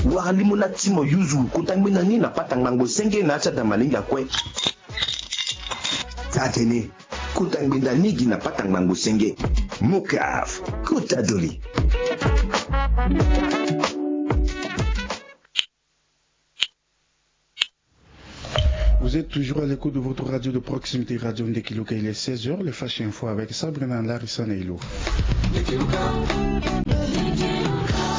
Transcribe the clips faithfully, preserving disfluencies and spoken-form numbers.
Wara limo na ti mo yuzu kota ngbenda ni na pata ngbangbo senge na ya ti ada malenge akue. Taa-tene, kota ngbenda ni gi na pata ngbangbo senge. Mokaf, kota doli. Vous êtes toujours à l'écoute de votre radio de proximité, Radio Ndekiluka. Il est seize heures, les Flash Info avec Sabrina Larissa Neilo.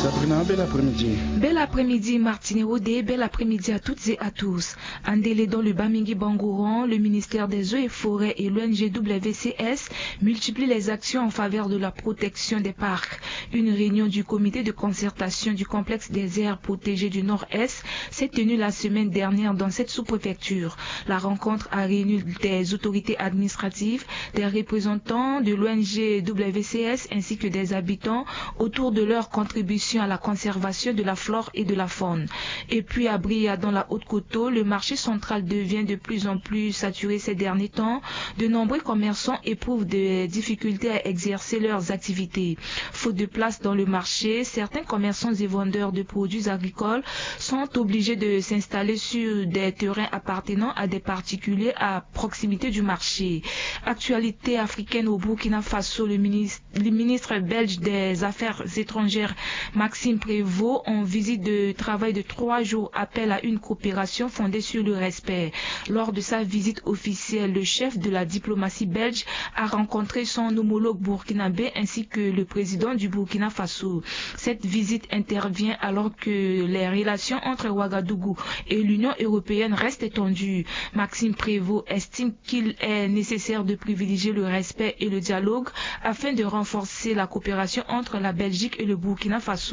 Sabrina, bel après-midi. Bel après-midi, Martine Rodé. Bel après-midi à toutes et à tous. Andele dans le Bamingi Bangoran, le ministère des Eaux et Forêts et l'O N G W C S multiplient les actions en faveur de la protection des parcs. Une réunion du comité de concertation du complexe des aires protégées du Nord-Est s'est tenue la semaine dernière dans cette sous-préfecture. La rencontre a réuni des autorités administratives, des représentants de l'O N G W C S ainsi que des habitants autour de leur contribution à la conservation de la flore et de la faune. Et puis à Bria, dans la Haute-Koto, le marché central devient de plus en plus saturé ces derniers temps. De nombreux commerçants éprouvent des difficultés à exercer leurs activités. Faute de place dans le marché, certains commerçants et vendeurs de produits agricoles sont obligés de s'installer sur des terrains appartenant à des particuliers à proximité du marché. Actualité africaine au Burkina Faso, le ministre, le ministre belge des Affaires étrangères, Maxime Prévost, en visite de travail de trois jours, appelle à une coopération fondée sur le respect. Lors de sa visite officielle, le chef de la diplomatie belge a rencontré son homologue burkinabé ainsi que le président du Burkina Faso. Cette visite intervient alors que les relations entre Ouagadougou et l'Union européenne restent tendues. Maxime Prévost estime qu'il est nécessaire de privilégier le respect et le dialogue afin de renforcer la coopération entre la Belgique et le Burkina Faso.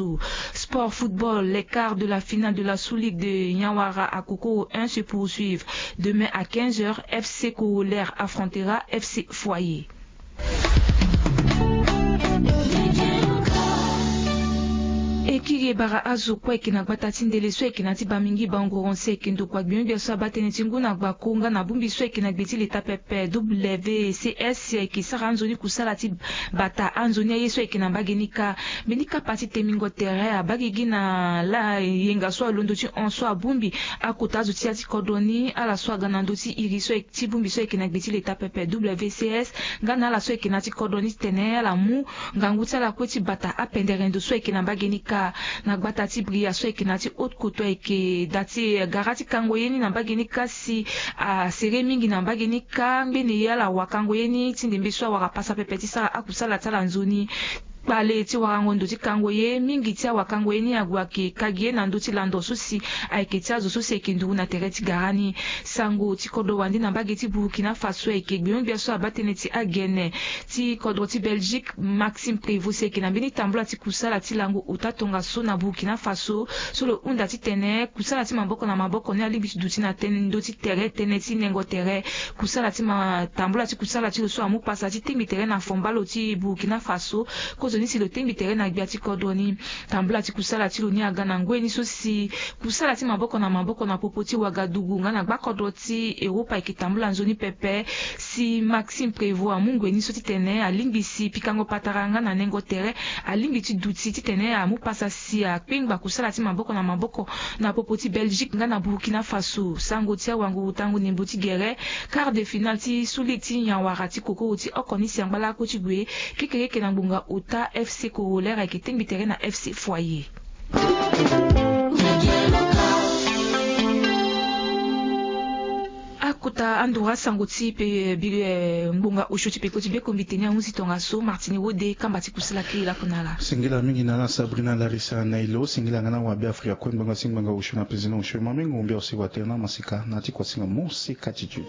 Sport football, les quarts de la finale de la sous-ligue de Nyawara à Kokoro un se poursuivent. Demain à quinze heures, F C Corollaire affrontera F C Foyer. E kiri e bara azo kue ayeke na gbata ti ndele so ayeke na ya ti Bamingi Bangoron si ayeke ndokua gbio-gbia so abaa tënë ti ngu na gbako nga na bongbi so ayeke na gbe ti leta pepe W C S si ayeke sara anzoni kusala ti bata anzoni aye so ayeke na mbage ni kâ. Mbeni kapa ti temingo tere abaa gigi na la yenga so alondo ti hon so abongbi akota azo ti ya ti kodro ni ala so aga na ndö ti iri so ayeke ti bongbi so ayeke na gbe ti leta pepe W C S nga na ala so ayeke na ya ti kodro ni titene ala mu ngangu ti ala kue ti bata apendere ndo so ayeke na mbage ni kâ. Na gbata ti Bria so ayeke na ya ti haute koto ayeke da ti gara ti kango ye ni na mbage ni kâ si asere mingi na mbage ni kâ ngbene ye ala wakango ye ni ti ndembe so awara pasa pepe ti sara akusala ti ala nzoni. Kpale ti warango ndo ti kango ye mingi ti awakango ye ni ague ayeke ka gi ye na ndö ti lando so si ayeke ti azo so si ayeke nduru na tere ti gara ni. Sango ti kodro wande na mbage ti Burkina Faso ayeke gbio-gbia so abaa tënë ti agene ti kodro ti Belgique, Maxime Prévost si ayeke na mbeni tambula ti kusala ti lango ota tongaso na Burkina Faso so lo hunda titene kusala ti maboko na maboko ni alingbi ti duti na tënë ndö ti tere tënë ti nengo tere. Kusala ti ma tambula ti kusala ti lo so amu pasa ti tengbi tere na fombalo ti Burkina Faso. Kozoni si lo tengbi tere na gbia ti kodro ni. Tambula ti kusala ti lo ni aga na ngoi ni so si kusala ti maboko na maboko na popo ti Ouagadougou nga na gbakodro ti Europa ayeke tambula nzoni pepe. Si Maxime Prévost amu ngoi ni so titene alingbi si pikango patara nga na nengo tere alingbi ti duti titene amu pasa si akpengba kusala ti maboko na maboko na popo ti Belgique nga na Burkina Faso. Sango ti awanguru tango ndembo ti gere quart de finale ti sous-ligue ti Nyawara ti kokoro ti oko ni si angba lakue ti gue kekereke na ngbonga ota F C Corollaire ayeke tengbi tere na F C Foyer. Akota anduru asango ti pe bi ngbonga osio ti peko ti bekombi teni ahunzi tongaso. Martini Wode, kamba ti kusala kiri lakue na ala. Singila mingi na ala Sabrina Larissa Nailo. Singila nga na wabe Afrika kue ngbanga si ngbanga osio na pezena osio mamengo mbia osi watere na masika na ti kuasinga mosika ti tu.